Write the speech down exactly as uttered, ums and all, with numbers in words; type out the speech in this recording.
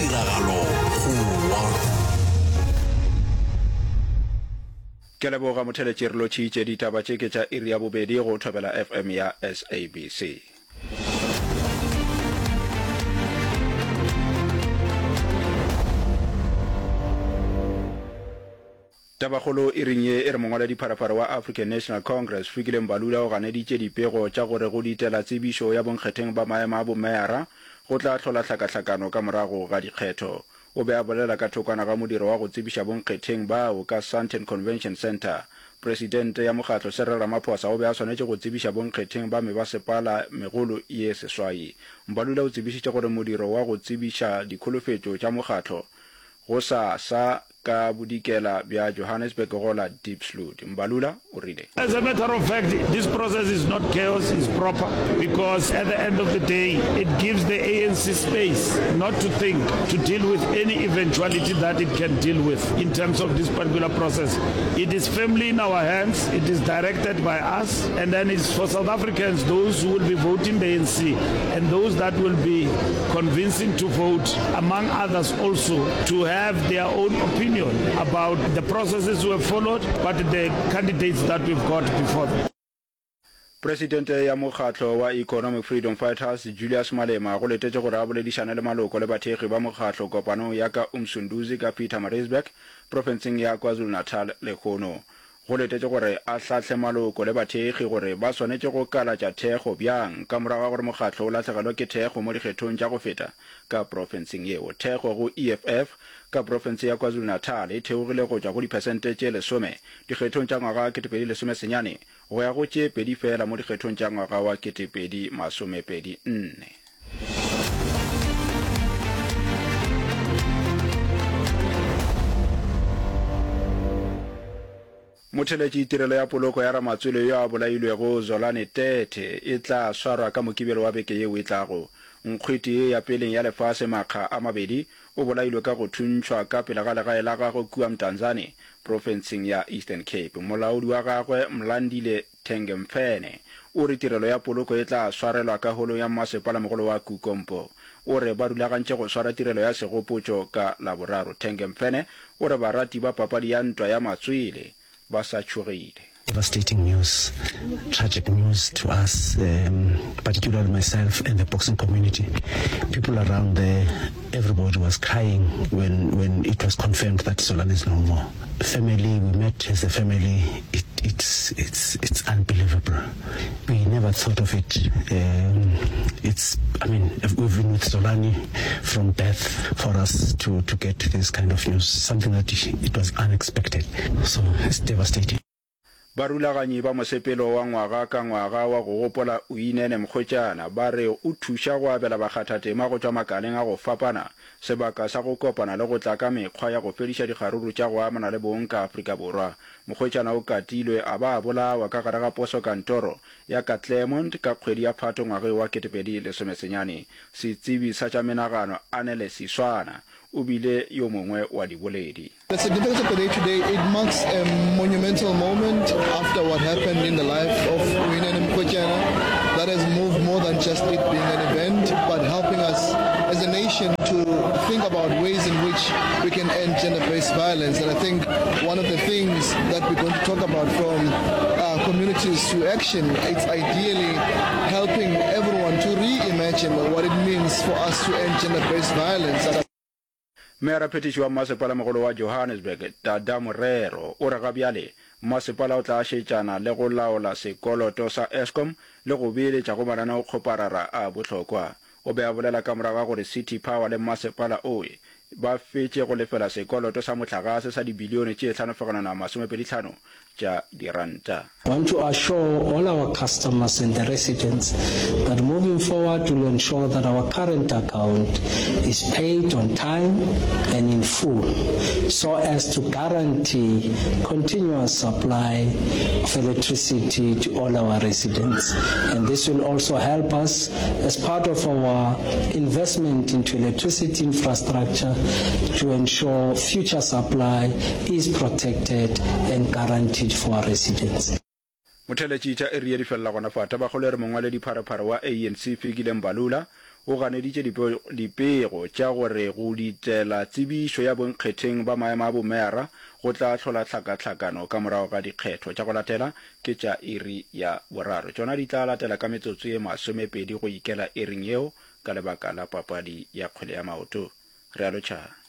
Tiragalo Goa. Ke a leboga motheletši re lotšhitše ditaba tše ke tša iri ya bobedi go Thobela F M ya S A B C. Tabakgolo iring ye e re mongwaledipharapara wa African National Congress Fikile Mbalula o ganeditše dipego tša gore go ditela tsebišo ya bonkgetheng ba maemo a bomeyara go tla hlola hlakahlakano ka morago ga dikgetho. O be a bolela ka thokwana ga modiro wa go tsebiša bonkgetheng bao ka Sandton Convention Centre. Presidente ya mokgatlo Cyril Ramaphosa o be a swanetše go tsebiša bonkgetheng ba mebasepala megolo ye seswai. Mbalula o tsebišitše gore modiro wa go tsebiša dikholofetšo tša mokgatlo go sa sa ka bodikela bja Johannesburg go la Diepsloot. Mbalula o rile. As a matter of fact, this process is not chaos, it's proper, because at the end of the day, it gives the A N C space not to think, to deal with any eventuality that it can deal with in terms of this particular process. It is firmly in our hands, it is directed by us, and then it's for South Africans, those who will be voting the A N C and those that will be convincing to vote, among others also, to have their own opinion about the processes we have followed, but the candidates that we've got before them. Presidente ya mokgatlo wa Economic Freedom Fighters, Julius Malema, go letetše gore a boledišane le maloko le bathekgi ba mokgatlo kopanong ya ka Umsunduzi ka Pietermaritzburg, profenseng ya KwaZulu-Natal lehono. Go letetše gore a hlahle maloko le bathekgi gore ba swanetše go kalatša thekgo bjang ka morago ga gore mokgatlo o lahlegelwe ke thekgo mo dikgethong tša go feta ka profenseng yeo. Thekgo go E F F ka profense ya KwaZulu-Natal e theogile go tšwa go diphesente tše lesome dikgethong tša ngwaga ketepedi lesome senyane go ya go tše pedi fela mo dikgethong tša ngwaga wa ketepedi masomepedi nne. Motheletši tirelo ya poloko ya ramatswele yo a bolailwego Zolani Tete e tla swarwa ka Mokibelo wa beke yeo e tlago. Nkgwete ye ya peleng ya lefase makga a mabedi o bolailwe ka go thuntšhwa ka pele ga legae la gagwe kua Mdantsane, profenseng ya Eastern Cape. Molaodi wa gagwe Mlandile Thengemfene o re tirelo ya poloko e tla swarelwa ka holong ya mmasepalamogolo wa Kukompo. O re ba rulagantše go swara tirelo ya segopotšo ka Laboraro. Thengemfene o re barati ba papadi ya ntwa ya matswele ba sa tšhogile. Devastating news, tragic news to us, um, particularly myself and the boxing community. People around there, everybody was crying when, when it was confirmed that Zolani is no more. Family, we met as a family, it, it's, it's, it's unbelievable. We never thought of it. Um, it's, I mean, we've been with Zolani from birth. For us to, to get this kind of news, something that it was unexpected. So it's devastating. Barulaganyi ba mosepelo wa ngwaga ka ngwaga wa go gopola Uyinene Mrwetyana ba re o thuša go abela bakgathatema go tšwa makaleng a go fapana sebaka sa go kopana le go tla ka mekgwa ya go fediša dikgaruru tša go amana le bong ka Afrika Borwa. Mrwetyana o katilwe a ba a bolawa ka gare ga posokantoro ya ka Claremont ka kgwedi ya Phato ngwageng wa ketepedi lesomesenyane. Setsebi sa tša menagano Anele Siswana o bile yo mongwe wa diboledi. The significance of the day today, it marks a monumental moment after what happened in the life of Uyinene Mrwetyana that has moved more than just it being an event, but helping us as a nation to think about ways in which we can end gender-based violence. And I think one of the things that we're going to talk about from uh, communities to action, it's ideally helping everyone to reimagine what it means for us to end gender-based violence. Meyaraphethiši wa mmasepalamogolo wa Johannesburg, Dada Morero, o re gabjale mmasepala o tla šetšana le go laola sekoloto sa Eskom le go beeletša go mananeokgoparara a bohlokwa. O be a bolela ka morago ga gore City Power le mmasepala owe ba fetše go lefela sekoloto sa mohlagase sa dibilione tše hlano fegelwana masomepedi hlano tša diranta. Want to assure all our customers and the residents that moving forward we'll ensure that our current account is paid on time and in full so as to guarantee continuous supply of electricity to all our residents. And this will also help us as part of our investment into electricity infrastructure to ensure future supply is protected and guaranteed for our residents. Motheletši tša iri ye di felela gona fa. Tabakgolo e re mongwaledipharephare wa A N C Fikile Mbalula o ganeditše dipego tša gore go ditela tsebišo ya bonkgetheng ba maemo a bomeyara go tla hlola tlhakatlhakano ka morago ga dikgetho. Tša go latela ke tša iri ya boraro. Tšona di tla latela ka metsotso ye masomepedi go ikela iring yeo ka lebaka la papadi ya kgwele ya maoto. Re a lotšha.